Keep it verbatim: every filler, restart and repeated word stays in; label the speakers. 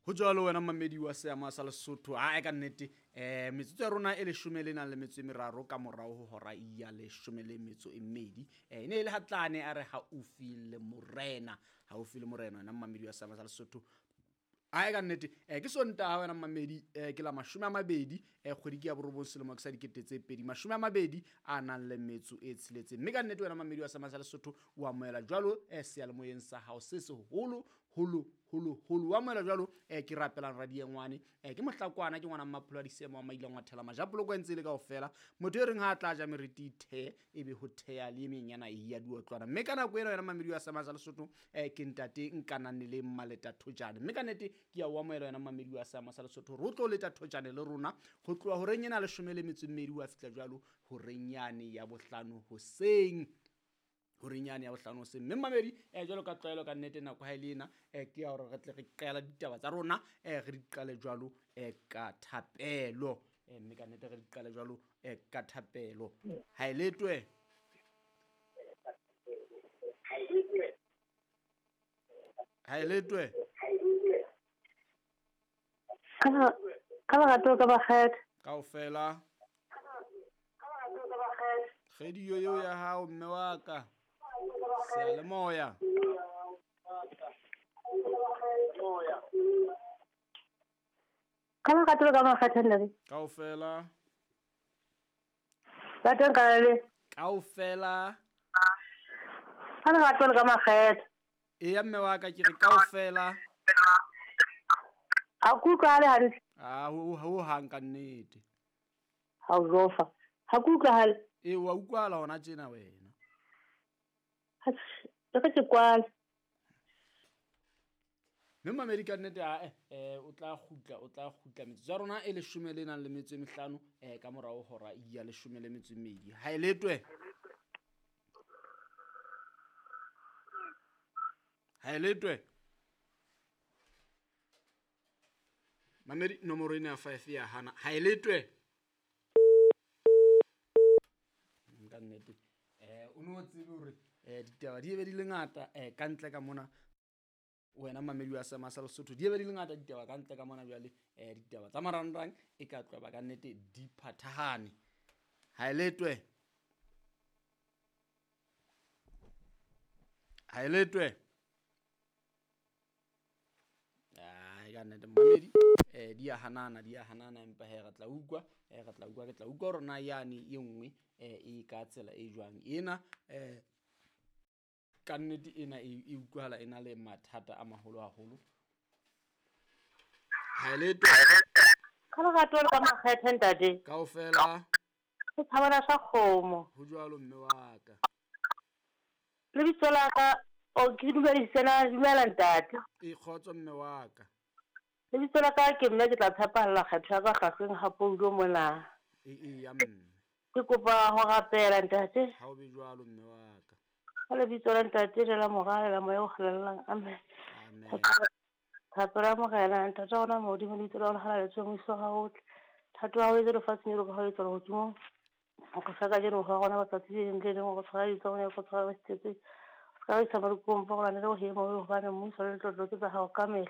Speaker 1: Ho jwalo wena mamedi wa seama sa Lesotho a ka nnete eh metsotso ya rona e leshome le nang le metso e meraro ka morao ho hora ya leshome le metso e mmedi. Eh ne e le hatlane a re haufi le morena, haufi le morena wena mamedi wa seama sa Lesotho. A ka nnete eh ke Sontaha wena mamedi eh ke la mashome a mabedi eh kgwedi ke ya borobong selemo ke sa dikete tse pedi mashome a mabedi a nang le metso e tsheletseng. Mme ka nnete wena mamedi wa seama sa Lesotho o amohela jwalo eh seyalemoyeng sa hao se seholo holo holo holo wa moela jwalo eh ke rapelang radiengwane eh ke mohlakwana ke ngwana mmapholo a disemo wa maila ngwathela majapoloko entse le kaofela motho e reng ha tla ja meriti the ebe ho thea le menyana e ya diotlwana. Mme ka nako ena wena mamedi wa seama sa Lesotho eh ke ntate nkanane le Mmaleta Thojane. Mme ka nnete ke ya wa moela wena mamedi wa seama sa Lesotho ro tlo leta Thojane le rona ho tloha horeng ena leshome le metso e mmedi wa fihla jwalo horeng yane ya bohlano hoseng. Horinyane ya bohlano hoseng. Mme mamedi eh jwalo ka tlwaelo ka nnete nako ha e le ena eh ke ya hore re tle re qala ditaba tsa rona eh re di qale jwalo eh ka thapelo eh mme ka nnete re di qale jwalo eh ka thapelo. Ha e letwe ha e letwe
Speaker 2: ka lerato ka bakgetha
Speaker 1: kaofela kgwedi yo ya hao mme wa ka seyalemoya.
Speaker 2: Ka lerato ka makgetha ntate
Speaker 1: kaofela
Speaker 2: ba teng ka le
Speaker 1: kaofela
Speaker 2: ka lerato ka makgetha.
Speaker 1: Eya mme wa ka ke re kaofela
Speaker 2: a kutlwa le hantle
Speaker 1: a ho ho hang ka nnete
Speaker 2: ha o zofa ha kutlwa.
Speaker 1: E wa utlwala hona tjena wena.
Speaker 2: Ha ke ke kwala.
Speaker 1: Mme mamedi ka nnete a eh o tla kgutla o tla kgutla metsotso ya rona e leshome le nang le metso e mehlano eh ka morao hora ya leshome le metso e mmedi. Ha e letwe ha e letwe mamedi nomoro ena ya five ya hana. Ha e letwe ka nnete eh o no tsebe hore eh ditaba di be di le ngata eh ka ntle ka mona wena mamedi wa seama sa Lesotho di be di le ngata ditaba ka ntle ka mona jwale eh ditaba tsa marangrang e ka tloba ka nnete di phathahane. Ha e letwe ha e letwe ai ka nnete mamedi eh di a hanana di a hanana empa he re tla utlwa eh re tla utlwa ke tla utlwa rona yane e nngwe eh e ka tsela e jwang ena eh ka nnete ena e utlwahala ena le mathata a maholo haholo. Ha e letwe
Speaker 2: ka lerato ka makgetha ntate
Speaker 1: kaofela
Speaker 2: ke tshabana sa kgomo
Speaker 1: ho jwalo mme wa ka
Speaker 2: lebitso la ka o ke dumedise na dumela ntate
Speaker 1: e kgotso mme wa ka
Speaker 2: lebitso la ka ke mme ke tla tshepahalla kgetho ya ka kgahleng ha poulo mona
Speaker 1: e e ya mme
Speaker 2: ke kopa ho rapela ntate
Speaker 1: ha o be jwalo mme wa ka
Speaker 2: ka lebitso la ntate le la mora le la moya o halalelang amen.
Speaker 1: Amen.
Speaker 2: Thapelo ya morena ntate wa rona Modimo lebitso la hao le halaletswe mmuso wa hao o tle thato ya hao e etswe lefatsheng jwalo ka ha o etswa lehodimong. O re fa kajeno ho rona matsatsi le leng le leng o re tshwarele ditso tsa rona o tshwarele ba sitetsweng o ska re isa mahlokong, empa o re lwanele ho hema hobane mmuso le letlotlo ke tsa hao kamehla.